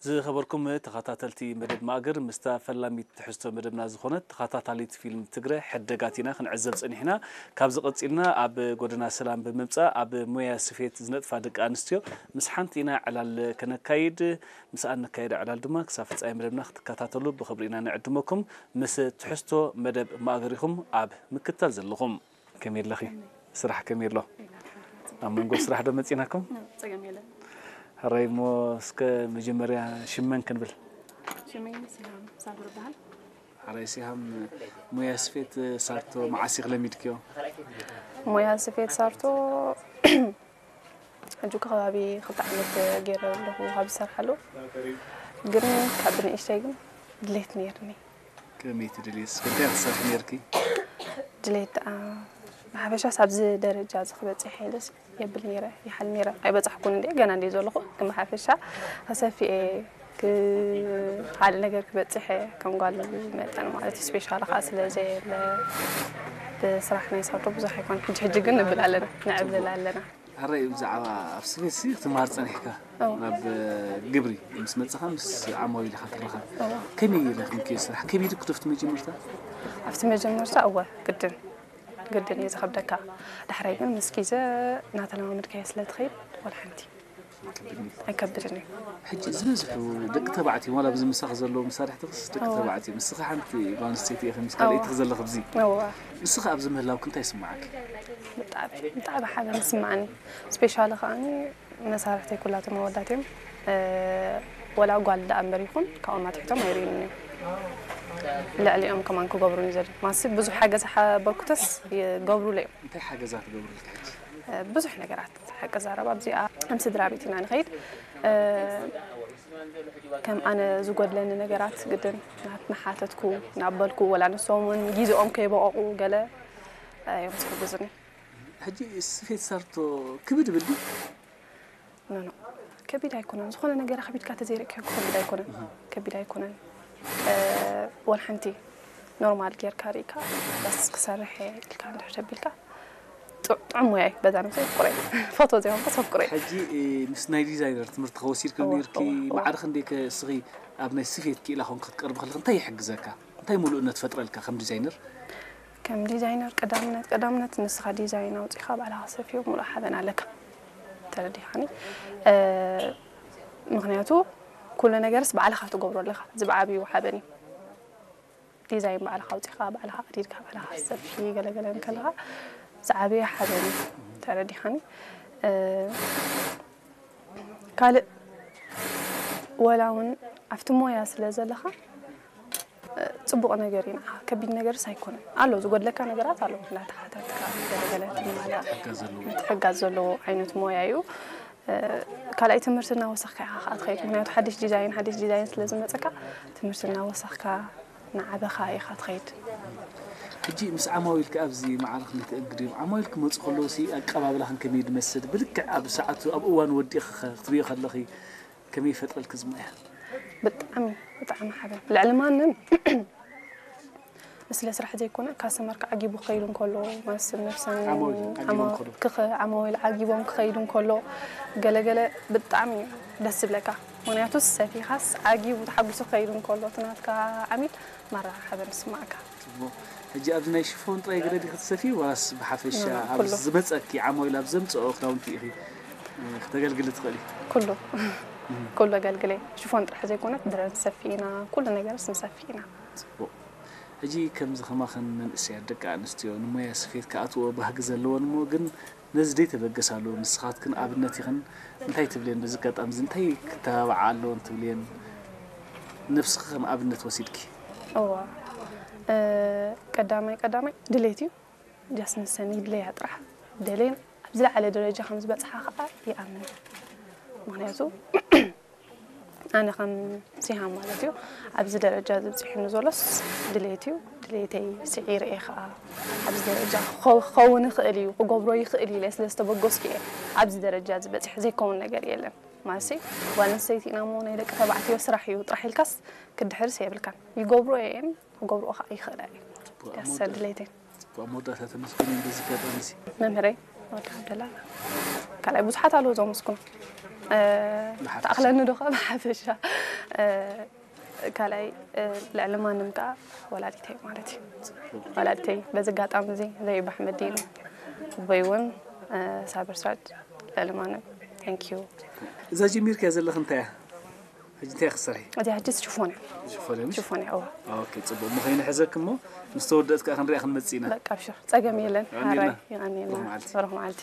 ዝኸበርኩም ተኸታተልቲ መደብ ማእገር፣ ምስታ ፈላሚት ትሕዝቶ መደብና ዝኾነት ተኸታታሊት ፊልም ትግረ ሕደጋት ኢና ክንዕዘብ ጸኒሕና። ካብዚ ቀጺልና ኣብ ጎደና ሰላም ብምምጻእ ኣብ ሞያ ስፌት ዝነጥፋ ደቂ ኣንስትዮ ምስ ሓንቲ ኢና ዕላል ከነካይድ። ምስኣን ነካይዶ ዕላል ድማ ክሳብ ፍጻሜ መደብና ክትከታተሉ ብኽብሪ ኢና ንዕድመኩም። ምስ ትሕዝቶ መደብ ማእገር ኢኹም ኣብ ምክትታል ዘለኹም። ከመይ ኣለኺ? ስራሕ ከመይ ኣሎ? ኣብ መንጎ ስራሕ ዶ መጺናኩም? ጸገም የለን። ሕራይ እሞ እስከ መጀመርያ ሽመን ክንብል። ሽመይ ሲሃም ሳብር ይበሃል። ሕራይ ሲሃም፣ ሞያ ስፌት ሳርቶ መዓስ ኢኺ ለሚድክዮ? ሞያ ስፌት ሳርቶ ሕጂ ከባቢ ክልተ ዓመት ገይረ ኣለኹ ካብ ዝሰርሓሉ። ግን ካብ ብንእሽተይ ግን ድሌት ነይርኒ። ከመይ ትደልየስ? እንታይ ትሰርሒ ነይርኪ? ድሌት ደኣ ብሓፈሻስ ኣብዚ ደረጃ እዚ ክበጽሕ ኢለስ የብል ነይረ፣ ይሓል ነይረ። ኣይበጻሕኩን እንዴ፣ ገና እንዴ ዘለኹ። ግን ብሓፈሻ ኣሰፊኤ ክ-፣ ሓደ ነገር ክበጽሕ እየ፣ ከም ጓል መጠን ማለት እዩ። ስፔሻል ኸዓ ስለ ዘየለ ብስራሕ ናይ ሳርቶ ብዙሕ ኣይኮን። ሕጂ ሕጂ ግን ንብል ኣለና፣ ንዕብልል ኣለና። ሕራይ ብዛዕባ ኣብ ስፌት ሲ ክትመሃር ጸኒሕካ? ኣብ ግብሪ ምስ መጻኻ ምስ ዓማዊል ኢኻ ትራኸብ። ከመይ ረኺብክዮ ስራሕ? ከቢድ እኮ ዶ ኣብቲ መጀመርታ? ኣብቲ መጀመርታ እወ፣ ግድን፣ ግድን እዩ ዝኸብደካ። ዳሕራይ ግን ምስ ግዜ እናተለማመድካዮ ስለ ትኸይድ፣ ወላ ሓንቲ ኣይከብድን እዩ። ሕጂ ዝበዝሑ ደቂ ተባዕትዮ፣ ዋላ ኣብዚ ምሳኺ ዘለዉ መሳርሕትኽስ ደቂ ተባዕትዮ፣ ንስኺ ሓንቲ ጓል ኣንስተይቲ ኢኺ፣ ምስ ካልኣይትኺ ዘለኺ ኣብዚ። እወ። ንስኺ ኣብዚ ምህላውኪ እንታይ ይስምዓኪ? ብጣዕሚ፣ ብጣዕሚ ሓበን ይስምዓኒ። ስፔሻሊ ከኣኒ መሳርሕተይ ኩላቶም ኣወዳት እዮም። እ፣ ወላ ጓል ደኣ እምበር ይኹን፣ ካብኦም ኣትሒቶም ኣይርእዩንን እዮም። ልዕሊኦም ከማን ክገብሩን እዩ ዘድልዮም። ማሲ ብዙሕ ሓገዝ ሓበርኩተስ ይገብሩለይ እዮም። እንታይ ሓገዛት ትገብሩልኪ ሕጂ? እ፣ ብዙሕ ነገራት። ሓቂ ዘረባ ኣብዚኣ ከም ስድራ ቤት ኢና ንኸይድ። እ፣ ከም ኣነ ዝጎድለኒ ነገራት ግድን ናት-፣ እናሓተትኩ፣ እናበልኩ፣ ወላ ንሶም እውን ግዜኦም ከይበቐቑ ገለ፣ እ፣ እዮም ዝሕግዙኒ። ሕጂ ስፌት ሳርቶ ክብድ ይብል ድዩ? ኖ፣ ኖ። ከቢድ ኣይኮነን። ዝኾነ ነገር ኣኽቢድካ ተዘይርእካዮ ክኸብድ ኣይኮነን። ከቢድ ኣይኮነን። እ፣ ወላ ሓንቲ ኖርማል ጌርካ ርኢካ፣ በስ ክሰርሕ እየ ኢልካ እንድሕር ተቢልካ፣ ጥዑ-፣ ጥዑም ሞያ እዩ። በዛ ነብሰይ ኣፍቅሮ እየ። ፎቶ ዘይኮንኩስ ኣፍቅሮ እየ። ሕጂ፣ እ፣ ምስ ናይ ዲዛይነር ትምህርቲ ከወሲድኪ እወ፣ ነይርኪ? እወ፣ እወ። ማዕረ ክንደይ ከ እስኺ ኣብ ናይ ስፌት ክኢላ ኮንኪ ክትቀርቢ ከለኺ እንታይ ይሕግዘካ? እንታይ ምሉእነት ፈጥረልካ ከም ዲዛይነር? ከም ዲዛይነር ቀዳምነት፣ ቀዳምነት ንስኻ ዲዛይን ኣውጺኻ ባዕልኻ ሰፍዮ ምሉእ ሓበን ኣለካ። ተረዲኻኒ? እ፣ ምኽንያቱ ኩሉ ነገርስ ባዕልኻ ትገብሮ ኣለኻ። እዚ ብዓብዩ ሓበን እዩ። ዲዛይን ባዕልኻ ኣውጺኻ፣ ባዕልኻ ቀዲድካ፣ ባዕልኻ ሰፊ ገለገለ እንከለኻ ዝዓበየ ሓበን እዩ። ተረዲኻኒ? እ፣ ካልእ ወላ እውን ኣብቲ ሞያ ስለ ዘለኻ፣ እ፣ ጽቡቕ ነገር እዩ ንዓኻ። ከቢድ ነገርስ ኣይኮነን። ኣሎ፣ ዝጎድለካ ነገራት ኣሎ። እንዳተሓተትካ፣ ገለገለ ትማላእ፣ ትሕጋዝ ዘለዎ። ትሕጋዝ ዘለዎ ዓይነት ሞያ እዩ። እ፣ ካልኣይ ትምህርቲ እናወሰኽካ ኢኻ ኸኣ ትኸይድ። ምኽንያቱ ሓድሽ ዲዛይን፣ ሓድሽ ዲዛይን ስለ ዝመጸካ፣ ትምህርቲ እናወሰኽካ፣ እናዓበኻ ኢኻ ትኸይድ። ሕጂ ምስ ዓማዊልኪ ኣብዚ ማዕረ ክንደይ ትእንግድዮም? ዓማዊል ክመጹ ከለዉ ሲ ኣቀባብላኽን ከመይ ድመስል? ብልክዕ ኣብ ሰዓቱ፣ ኣብ እዋኑ ወዲእኺ ኸ ክትርእዮ ከለኺ ከመይ ይፈጥረልኪ እዚ ሞያ? ብጣዕሚ፣ ብጣዕሚ ሓበን። ልዕሊ ማንም ስለ ስራሕ ዘይኮነ፣ ካስተመር ክዓጊቡ ክኸይዱ እንከሎ፣ ማስ ነፍሰን ዓማዊል ዓጊቦም ዓማ-፣ ክኸዱ። ክኸ-፣ ዓማዊል ዓጊቦም ክኸይዱ እንከሎ፣ ገለገለ ብጣዕሚ እዩ ደስ ዝብለካ። ምኽንያቱስ ሰፊኻስ ዓጊቡ ተሓጒሱ ክኸይዱ እንከሎ፣ እቲ ናትካ ዓሚል ማራ ሓበን ይስማዓካ። ጽቡቕ። ሕጂ ኣብዚ ናይ ሽፎን ጥራይ ግረ ዲኺ ትሰፍዪ ዋላስ ብሓፈሻ እም፣ ኣብዚ ኩሉ። ዝመጸኪ ዓማዊል ኣብ ዘምጽኦ ክዳውንቲ ኢኺ፣ እ፣ ክተገልግሊ ትኽእሊ? ኩሉ። እም። ኩሉ ኣገልግለ። ሽፎን ጥራሕ ዘይኮነት ድረ ንሰፊ ኢና፣ ኩሉ ነገርስ ንሰፊ ኢና። ጽቡቕ። ሕጂ ከምዚ ከማኽን መንእሰያት ደቂ ኣንስትዮ ንሞያ ስፌት ክኣትዎ ባህጊ ዘለወን እሞ ግን ነዚ ዘይተበገሳሉ ንስኻትክን ኣብነት ኢኽን። እንታይ ትብልየን? በዚ ኣጋጣሚ እዚ እንታይ ክተባብዓ ኣለወን ትብልየን? ነብስኺ ከም ኣብነት ወሲድኪ። እዋ፣ እ፣ ቀዳማይ ቀዳማይ ድሌት እዩ። ጃስ ንሰን ይድለያ ጥራሕ። ደልየን ኣብ ዝለዓለ ደረጃ ከም ዝበጽሓ ኸኣ ይኣምን። ምኽንያቱ ኣነ ከም ሲሃም ማለት እዩ፣ ኣብዚ ደረጃ እዚ ኣብጺሑኒ ዘሎስ ድሌት እዩ። ድሌተይ ስዒረ እየ ኸኣ ኣብዚ ደረጃ ክኸው-፣ ክኸውን ይኽእል እዩ፣ ክገብሮ ይኽእል እዩ ኢለ ስለ ዝተበገስኩ እየ ኣብዚ ደረጃ እዚ በጺሐ። ዘይከውን ነገር የለን። ማለትሲ ጓል ኣንስተይቲ ኢና እሞ ናይ ደቂ ተባዕትዮ ስራሕ እዩ ጥራሕ ኢልካስ ክድሕርስ የብልካን። ይገብሮ እየን፣ ክገብርኦ ኸኣ ይኽእላ እየን። ጽቡቕ፣ ዳስ ኣሞዳ-፣ ድሌተይ። ጽቡቕ፣ ኣብ መወዳእታ ተመስገን በዚ ኣጋጣሚ እዚ። መምህረይ ወዲ ዓብደላ ካልኣይ ብዙሓት ኣለዉ ዘመስግኖ። ተኣኽለኒ ዶ ኸ ብሓፈሻ ካልኣይ ልዕሊ ማንም ከዓ ወላዲተይ ማለት እዩ። ወላዲተይ በዚ ኣጋጣሚ እዚ ዘይብ ኣሕመድ እዩ። ኣቦይ እውን ሳብር ስራጅ ልዕሊ ማንም። Thank you። እዛ ጀሚርካ ዘለኽ እንታይ እያ? ሕጂ እንታይ ክሰርሒ? እዚኣ ሕጂ ሽፎን እያ። ሽፎን እያ ምሽ? ሽፎን እያ እዋ። ኦኬ፣ ጽቡቕ። ምኸይኑ ሕዘክ እሞ ምስ ተወደእት ከዓ ክንሪኣ ክንመጽእ ኢና። በቃ ኣብሽር ጸገም የለን። የቐንየልና። ሓራይ የቐንየልና። ብሩኽ መዓልቲ። ብሩኽ መዓልቲ።